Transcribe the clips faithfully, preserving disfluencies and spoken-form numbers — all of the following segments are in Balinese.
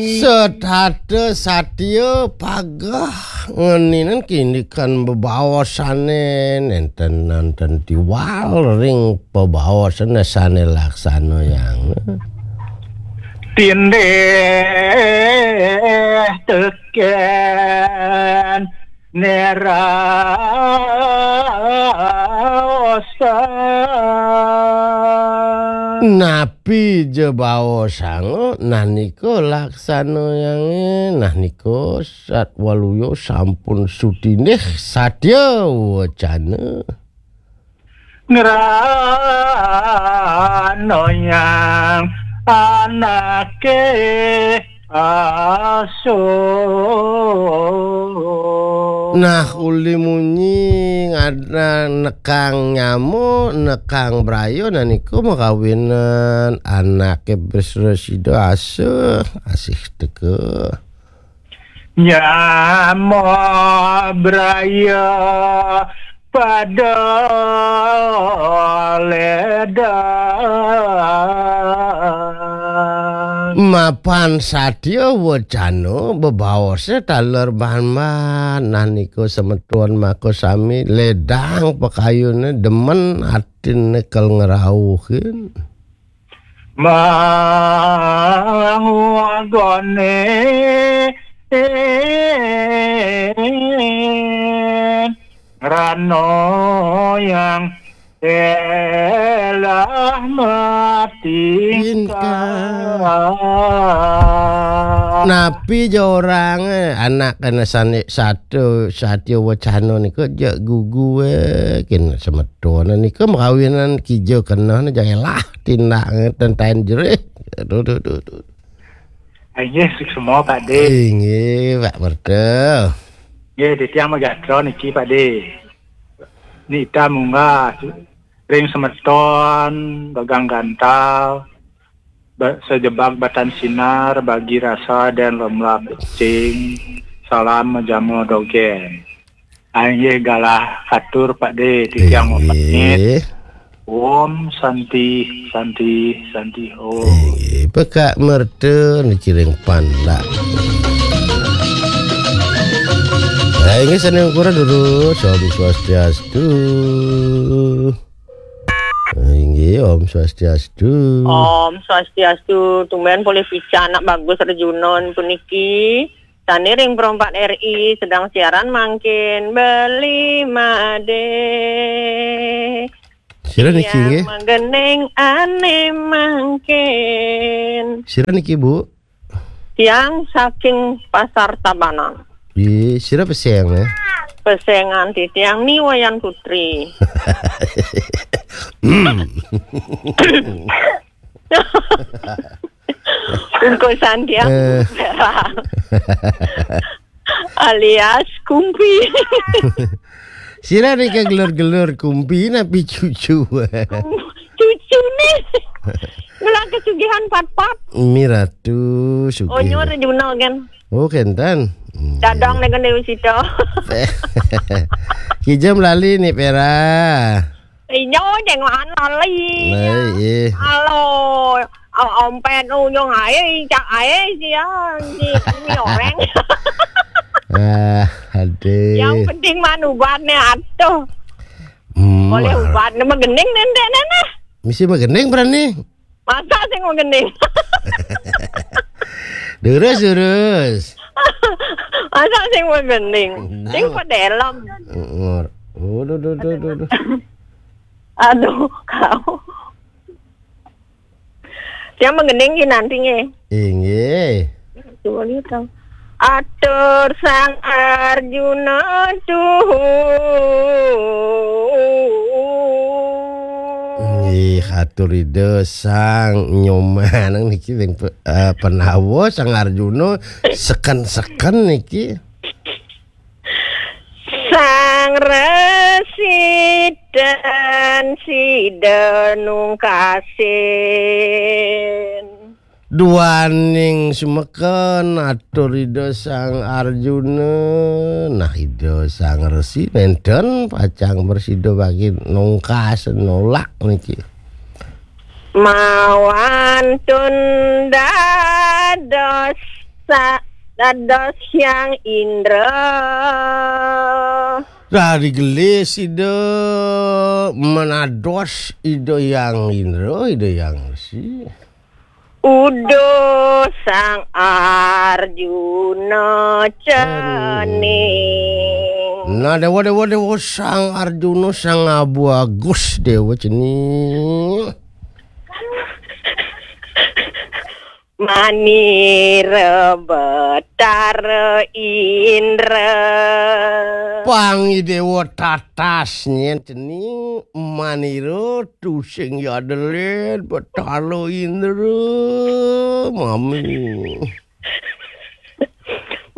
Setata satya pageh ngeninen kindikan bebaosane nenten-nenten tiwal ring pebaosane sane laksana yang. Tindih teken neraosan. Napi ja baosanga nanika laksana yange, nanika satwaluya sampun sutindih satya wacana. Ngranoyang anake aso. Nah, uli munyi ngada nekang nyama, nekang braya, nah niku makawinan anake prasida asa, asih teka. Nyama braya pada ledang. Mapan satya wacana bebaose taler banban, nah niku semeton maka sami ledang pakayune demen atine kal ngrauhin. Mangwagane rano yang telah mati. Napi ja orange anak kena sane satu satya wacana nika ja gugu, eh, kin semeton nika makawinan kija kena ne ja elah tindak, eh, tentaen jerih. Aduh, duh, duh, duh. Inggih, semua, Pak De. Inggih, Pak Merta. Nggih, titiang magatra niki, Pak De. Nita munggah ring semeton, bagang gantal, ba-, sejebak batan sinar, bagi rasa dan lemlap cing. Salam majama dogen. Inggih galah atur, Pak De, titiang inggih. Pamit. Om Santi, Santi, Santi, Om. Inggih, Pak Merta niki ring Pandak. Inggih, sane ungkuran durus, Om Swastiastu. Inggih, Om Swastiastu. Om Swastiastu, tumben polih pican anak bagus Rejuna puniki. Sane ring Pro empat R I sedang siaran mangkin beli made. Sira niki nggih? Magending ane mangkin. Sira niki, Bu? Tiang saking Pasar Tabanan. Nggih, sira peseng ya? Pesengan titiang Ni Wayan Putri. Bungkusan tiang. Eh. Alias kumpi. Sira nika gelur-gelur kumpi napi cucu? Cucu nih. Mula kesugihan pat-pat. Miratu sugih. Onyur Juna kan. Oh, kenten. Hmm. Dadang dengan Dewi Sita. Kijam lali nih, Pera. Inyo, jengokan lali. Nah, iya. Halo. Om-, ompet ujung ae, cak ae sia. Di, di orang. Ah, aduh. Yang penting man ubatnya atuh. Hmm, boleh ah. Ubatnya magending nendek nana. Misi magending berani. Masa sing magending? Durus, durus. Masa sing magending? Nah. Sing pedelem. Ngor. Waduh, duh, duh, duh, duh. Aduh, kau. Yang magending ki nanti nge. Inggih. Coba lihat dong. Atur Sang Arjuna tuhu. Nggih, atur Ida Sang Nyoman niki ring pe-, eh, Pandawa Sang Arjuna seken-seken niki. Sang Resi dan Sida nungkasin. Duaning sumeken atur Ida Sang Arjuna. Nah, Ida Sang Resi nenten pacang prasida bagi nungkas nolak niki. Mawantun dados sa-, dados Hyang Indra. Dari gelis Ida menados Ida Hyang Indra, Ida Hyang Resi. Uduh Sang Arjuna cening. Nah, Dewa, Dewa, Dewa, Sang Arjuna, Sang Abu Agus, Dewa cening. Manira Betara Indra. Pangi Dewa tatas nyen cening manira tusing yadelin Betara Indra, mami.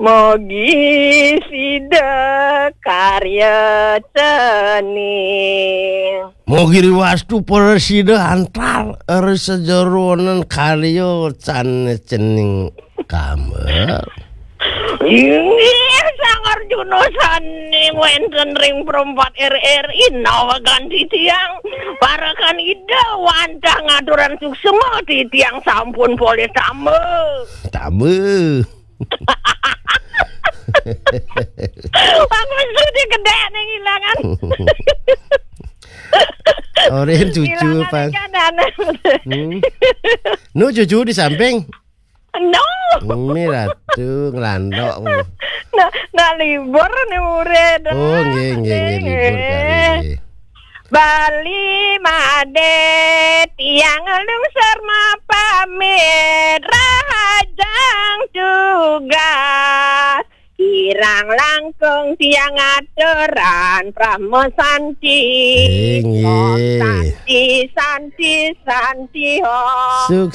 Mogi sida karya cening. Mogi riwastu prasida antar ri sajeroning karya can cening kamel. Inggih, Sang Arjuna sane wenten ring perempat R R I nawegan titiang. Parekan Ida wantah ngaturan suksma, titiang sampun polih tamba. Tamba. Aku sudi gedek ning ilangan. Oren cucu, ilangan Pan. Ikan anak. Hmm. Nu cucu di samping. No. Ini ratu ngelandok. Nah, nah, libur nih murid. Oh, nggih, nggih, nggih, libur kali nggih. Bali Made tiang lungsur mapamit rahajeng tugas. Kirang langkung tiang aturan Brahma Santi. Inggih. Om Santi, Santi, Santi, Om. Sukses.